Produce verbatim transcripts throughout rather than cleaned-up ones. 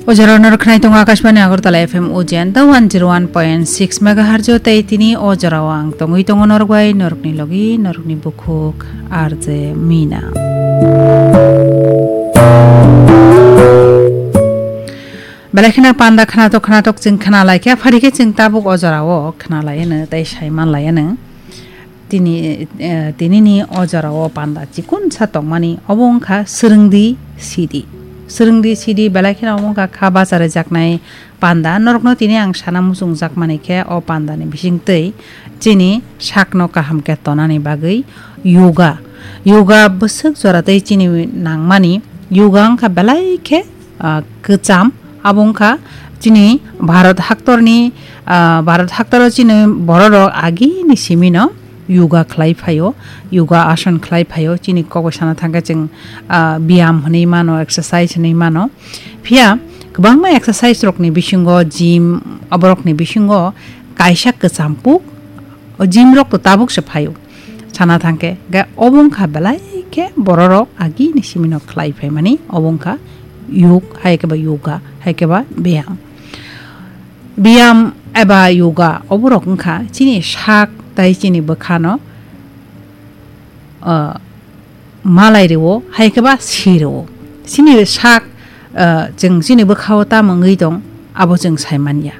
O jora norok khnai tongo Akashbani Agartala F M Ujenta one zero one point six megahertz o tei tini o jorao ang tongwi tongo norok bai norokni logi norokni bukhuk R J Mina. Belai kheno panda khnatok khnatok chwng khnalaikha, phari khe chwng tabuk o jorao khnalaiano tei saimanlaiano. Tini, eh, tinini o jorao panda chikonsa tongmani obo wngkha swrwngdi sidi. Swrwngdi sidi belai kheno obo wngkha kha bacha rwjaknai panda. Norokno tini ang sana muchungjakmani khe o pandani bisingtwi chini sakno kaham khe tonani bagwi yoga. Yoga bwswk jora tei chini nangmani. Yoga wngkha belai khe, ah, kwcham. Abo wngkha chini Bharat haktorni, ah, Bharat haktoro chini bororok agini simino yoga khlai phaio, yoga asan khlai phaio. Chini kok bai sana thangkhe chwng, ah, biyam hwnwi mano, exercise hwnwi mano. Phiya kwbangma exercise rokni bisingo, gym, aborokni bisingo kaisa kwcham puk, o gym rok to tabuk se phaio. Sana thangkhe, ga obo wngkha belai khe bororok agini simino khlai phaimani, obo wngkha yog, hai khe ba yoga, hai khe ba biyam. Biyam eba yoga, oborok wngkha chini sak tai chini bwkhano, ah, malai rwo, hai khe ba si rwo. Chini sak, ah, chwng chini bwkhao tamo wngwi tong, abo chwng sai manya.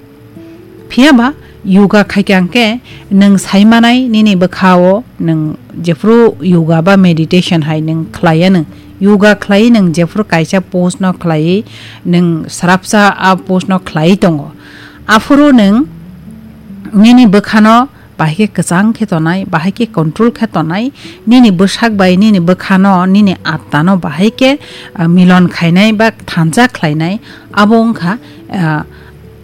Phiya ba yoga khaikhe ang khe nwng sai manai nini bwkhao nwng jephru yoga ba meditation hai nwng khlai anw. Yoga khlai nwng jephru kaisa pose no khlai nwng srapsa a pose no khlai tongo. Aphuru nwng nini bwkhano bahai khe kwchang khe tonai, bahai khe control khe tonai, nini bwsak bai nini bwkhano, nini attano bahai khe, ah, milon khainai ba thansa khlainai, abo wngkha, ah,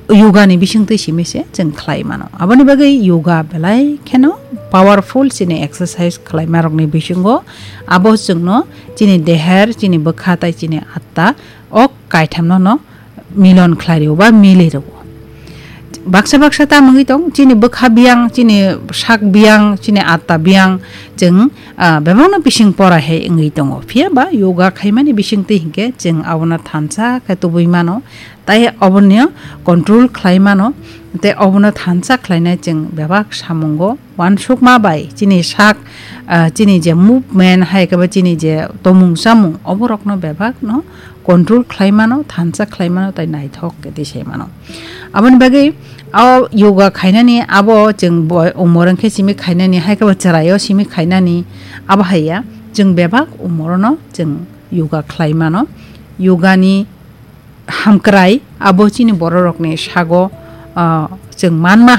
yoga ni bisingtwi simi se chwng khlai mano. Aboni bagwi yoga belai kheno powerful chini exercise khlaima rokni bisingo abo chwngno chini deher, chini bwkha tai chini atta o kaithamno no milon khlai rwo ba mili rwo. Baksa baksa ta mungwi tong, chini bwkha biyang, chini sak biyang, chini atta biyang, chwng, ah, bebakno bising pora hai wngwi tongo. Phiya ba yoga khaimani bisingtwi hinkhe chwng abono thansa khe tubui mano, tai obono control khlai mano, tei obono thansa khlainai chwng bebak samungo uansukma bai chini sak, ah, chini je movement hai khe ba chini je tomung chamung oborokno bebakno control khlai mano, thansa khlai mano, tei naithok khe tisai mano. Aboni bagwi o yoga khainani abo chwng bo-, umor wngkhe simi khainani, hai khe bo chwraio simi khainani, abo hai ya, chwng bebak umorono chwng yoga khlai mano. Yoga ni hamkrai abo chini bororokni sago, ah, chwng manma